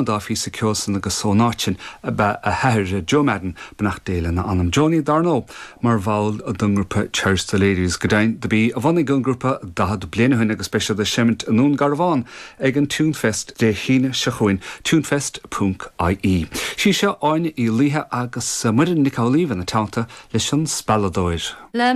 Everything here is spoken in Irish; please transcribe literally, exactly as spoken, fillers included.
dá phíosa ceoil san agus ón áit sin ab ea a hathair Joe Madden beannacht Dé lena anam Johnny dar ndóigh mar bhall den ngrúpa Cherish the Ladies go deimhin do b'í a bhunaigh an grúpa daichead bliain ó shin agus beidh siad ag seimint i nDún Garbhán ag an Tunefest Dé hAoine seo chugainn tunefest.ie. Sí seo Áine Uí Laoithe agus Muireann Nic Amhlaoibh ina teannta leis an spealadóir. Le